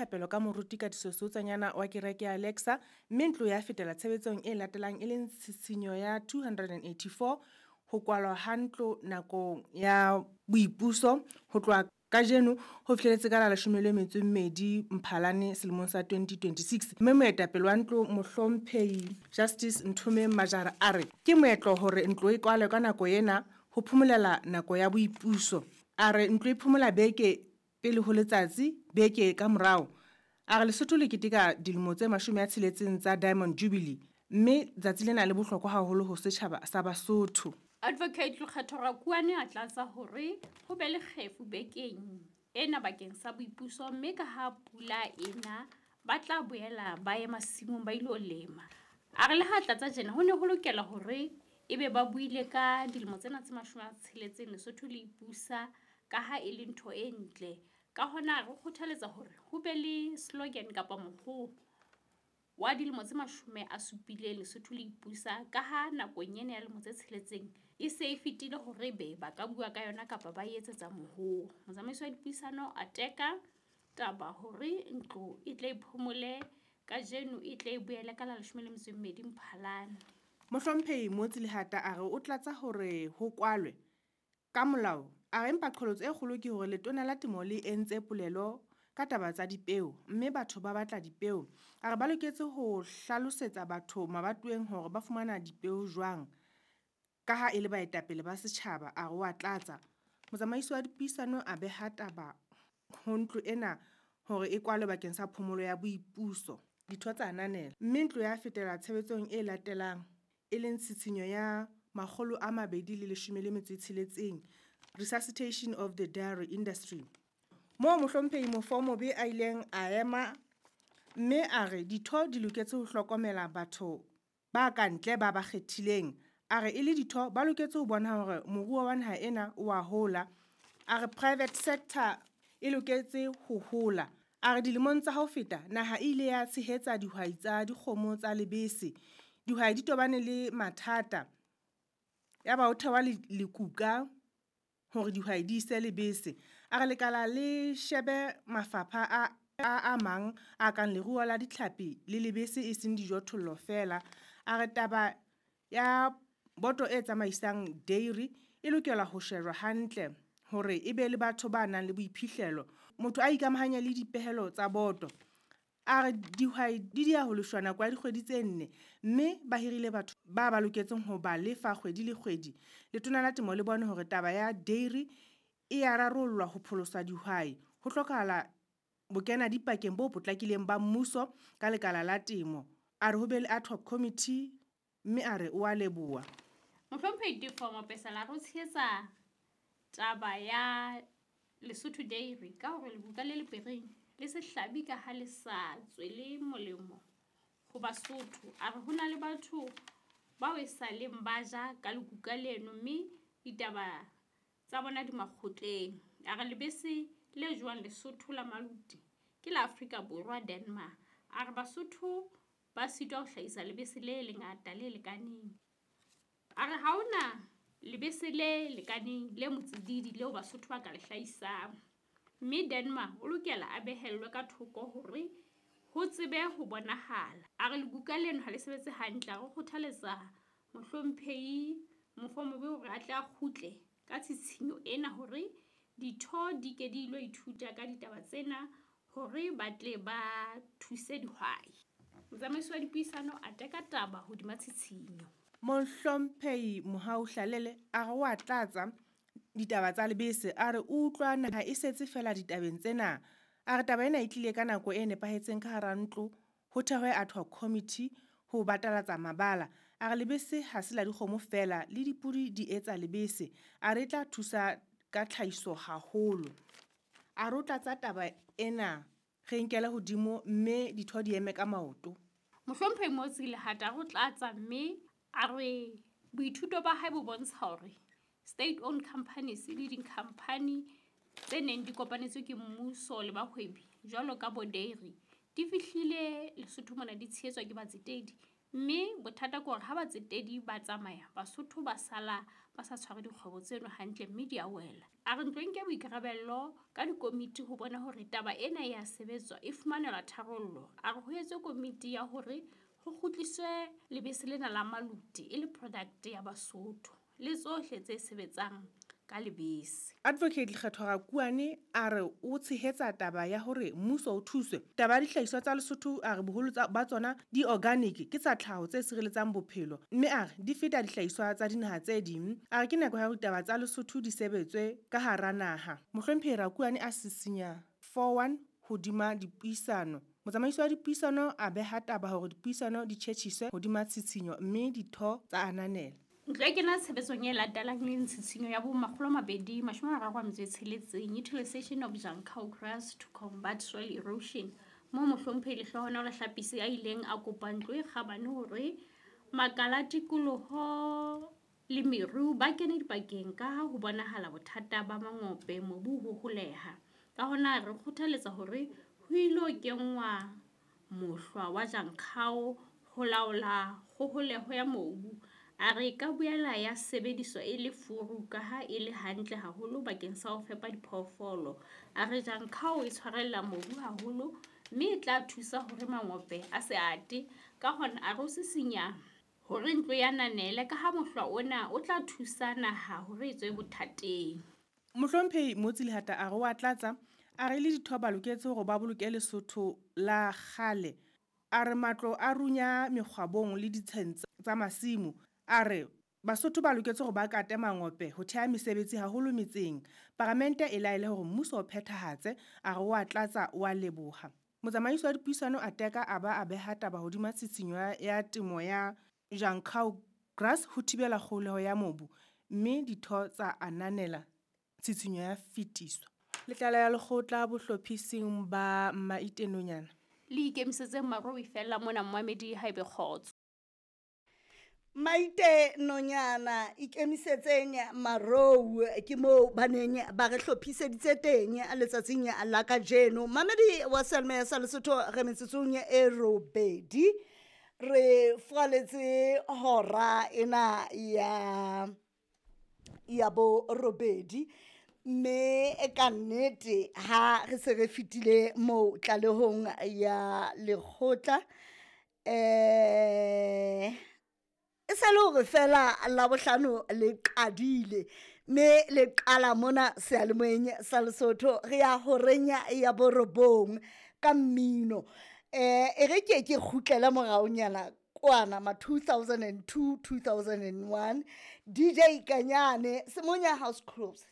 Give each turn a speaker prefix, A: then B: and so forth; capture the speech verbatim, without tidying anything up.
A: thapelo ka moruti Katiso Seutsanyana wa kereke ya Alexa, mme ntlo ya fetela tshebetsong e latelang e leng tshitshinyo ya two hundred and eighty-four, ho kwalwa ha ntlo nakong ya boipuso ho tloha kajeno ho fihleletse ka la leshome le metso e mmedi Mphalane selemong sa twenty twenty-six. Mme moetapele wa ntlo Mohlomphehi Justice Nthomeng Majara a re ke moetlo hore ntlo e kwalwe ka nako ena ho phomolela nako ya boipuso. A re ntlo e phomola beke pele ho letsatsi, beke ka morao. A re Lesotho le keteka dilemo tse mashome a tsheletseng tsa Diamond Jubilee, mme tsatsi lena le bohlokwa haholo ho setjhaba sa Basotho.
B: Advocate Lekgetho Rakuane a tlatsa hore ho be le kgefu bekeng ena bakeng sa boipuso, mme ka ha pula ena ba tla boela ba ye masimong ba ilo lema. A re le ha tlatsa tjena ho ne ho lokela hore ebe ba buile ka dilemo tsena tse mashome a tsheletseng Lesotho le ipusa ka ha e le ntho e ntle. Ka hona re kgothaletsa hore ho be le slogan kapa mohoo wa dilemo tse mashome a supileng Lesotho le ipusa, ka ha nakong ena ya lemo tse tsheletseng e se e fetile hore be ba ka bua ka yona kapa ba etsetsa mohoo. Motsamaisi wa dipuisano a teka taba hore ntlo e tle e phomole kajeno, e tle e boele ka la leshome le metso e mmedi Mphalane.
A: Mohlomphehi Motsi Lehata a re o tlatsa hore ho kwalwe ka molao. A re empa qholotso e kgolo ke hore letona la temo le entse polelo ka taba tsa dipeo, mme batho ba batla dipeo. A re ba loketse ho hlalosetsa batho mabatoweng hore ba fumana dipeo jwang, ka ha e le baetapele ba setjhaba. A re wa tlatsa. Motsamaisi wa dipuisano a beha taba ho ntlo ena hore e kwalwe bakeng sa phomolo ya boipuso. Ditho tsa ananela, mme ntlo ya fetela tshebetsong e latelang e leng tshitshinyo ya makgolo a mabedi le leshome le metso e tsheletseng, resuscitation of the dairy industry. Moo Mohlomphehi Mofomobe a ileng a ema mme a re ditho di loketse ho hlokomela batho ba kantle ba ba kgethileng. A re e le ditho ba loketse ho bona hore moruo wa naha ena o a hola. A re private sector e loketse ho hola. A re dilemong tsa ho feta naha e ile ya tshehetsa dihwai tsa dikgomo tsa lebese. Dihwai di tobane le mathata, ya ba ho thewa lekuka hore dihwai di ise lebese. A re lekala le shebe mafapha a a mang a kang leruo la ditlhapi le lebese e seng dijothollo feela. A re taba ya boto e tsamaisang dairy e lokela ho shejwa hantle hore e be le batho ba nang le boiphihlelo. Motho a ikamahanye le dipehelo tsa boto. A re dihwai di dia ho lefshwa nako ya dikgwedi tse nne, mme ba hirile batho ba ba loketseng ho ba lefa kgwedi le kgwedi. Letona la temo le bone hore taba ya dairy e ya rarollwa ho pholosa dihwai. Ho hlokahala bokena dipakeng bo potlakileng ba mmuso ka lekala la temo. A re ho be le ad hoc committee, mme a re o a leboha.
B: Mohlomphehi Tefo Mapesela re o tshehetsa taba ya Lesotho Dairy ka hore lekuka le lepereng le sehlabi ka ha le sa tswele molemo ho Basotho. A re ho na le batho bao e sa leng ba ja ka lekuka leno, mme ditaba tsa bona di makgotleng. A re lebese le jewang Lesotho la Maluti ke la Afrika Borwa Denmark. A re Basotho ba sitwa ho hlahisa lebese le lengata le lekaneng. A re ha hona lebese le lekaneng le motsididi leo Basotho ba ka le hlahisang, mme Denmark o lokela a behellwe ka thoko hore ho tsebe ho bonahala. A re lekuka leno ha le sebetse hantle. A re kgothaletsa Mohlomphehi Mofomobe hore a tle a kgutle ka tshitshinyo ena hore ditho di ke di ilo ithuta ka ditaba tsena hore ba tle ba thuse dihwai. Motsamaisi wa dipuisano a teka taba hodima tshitshinyo.
A: Mohlomphehi Mohau Hlalele a re wa tlatsa ditaba tsa lebese. A re o utlwa naha e setse feela ditabeng tsena. A re taba ena e tlile ka nako e nepahetseng ka hara ntlo, ho thehwe ad hoc committee ho batalatsa mabala. A re lebese ha se la dikgomo feela, le dipudi di etsa lebese. A re e tla thusa ka tlhahiso haholo. A re o tlatsa taba ena re nkele hodimo mme ditho di eme ka maoto.
B: Mohlomphehi Motsi Lehata a re o tlatsa mme a re boithuto ba hae bo bontsha hore state-owned companies le di-company tse neng di kopanetswe ke mmuso le bahwebi jwalo ka bo dairy di fihlile Lesotho mona di tshehetswa ke batsetedi, Mme bothata ke hore ha batsetedi ba tsamaya, Basotho ba sala ba sa tshware dikgwebo tseno hantle mme di a wela. A re ntlo e nke boikarabello ka dikomiti ho bona hore taba ena ya sebetswa e fumanelwa tharollo. A re ho etswe komiti ya hore ho kgutliswe lebese lena la maluti e le product ya Basotho le tsohle tse sebetsang ka lebese.
A: Advocate Lekgetho Rakuane a re o tshehetsa taba ya hore mmuso o thuswe. Taba ya dihlahiswa tsa Lesotho a re boholo ba tsona di organic, ke tsa tlhaho tse sireletsang bophelo, mme a re di feta dihlahiswa tsa dinaha tse ding. A re ke nako ya hore ditaba tsa Lesotho di sebetswe ka hara naha. Mohlomphehi Rakuane a sisinya four one hodima dipuisano. Motsamaisi wa dipuisano a beha taba hore dipuisano di tjhetjhiswe hodima tshitshinyo mme ditho tsa ananela.
B: Ntlo e kena tshebetsong e latelang le tshitshinyo ya bo makgolo a mabedi mashome a mararo a metso e tsheletseng, utilization of Jankau grass to combat soil erosion. Moo mohlomphehi Lehlohonolo Hlapisi a ileng a kopa ntlo e kgabane hore makala a tikoloho le meru ba kene dipakeng ka ha ho bonahala bothata ba mangope mobu ho holeha. Ka hona re kgothaletsa hore ho ilo kenngwa mohlwa wa Jankau ho laola kgoholeho ya mobu. A re ka boela ya sebediswa e le furu ka ha e le hantle haholo bakeng sa ho fepa diphoofolo. A re Jankau e tshwarella mobu haholo mme e tla thusa hore mangope a se ate. Ka hona a re o sisinya hore ntlo ya nanele ka ha mohlwa ona o tla thusa naha hore e tswe bothateng.
A: Mohlomphehi Motsi Lehata a re wa tlatsa, a re le ditho ba loketse hore ba boloke Lesotho la kgale. A re matlo a runya mekgwabong le ditsheng tsa masimo. A re Basotho ba loketse hore ba kate mangope ho theha mesebetsi haholo metseng. Paramente e laele hore mmuso o phethahatse, a re wa tlatsa wa leboha. Motsamaisi wa dipuisano a teka a ba a beha taba hodima tshitshinyo ya temo ya Jankau grass ho thibela kgoholeho ya mobu, mme ditho tsa ananela tshitshinyo ya fetiswa. Letlala ya lekgotla bohlophising ba Maitenonyana.
B: Le ikemisetseng maro e fella mona mmamedi haebe kgotso.
C: Maite nonyana ikemisetseng marou ke moo ba neng ba re hlophiseditse teng letsatsing la kajeno. Mamedi wa Selma sa Lesotho re metsotsong e robedi re furaletse hora ena ya ya bo robedi, mme ka nnete ha re se re fetile moo tlalehong ya lekgotla eh e sa le hore fela Labohlano le qadile mme le qala mona seyalemoyeng sa Lesotho re ya horeng ya borobong ka mmino. Eh e re ke ke kgutlele moraonyana kwana ma two thousand and two, two thousand and one D J Kanyane Semonya House Close.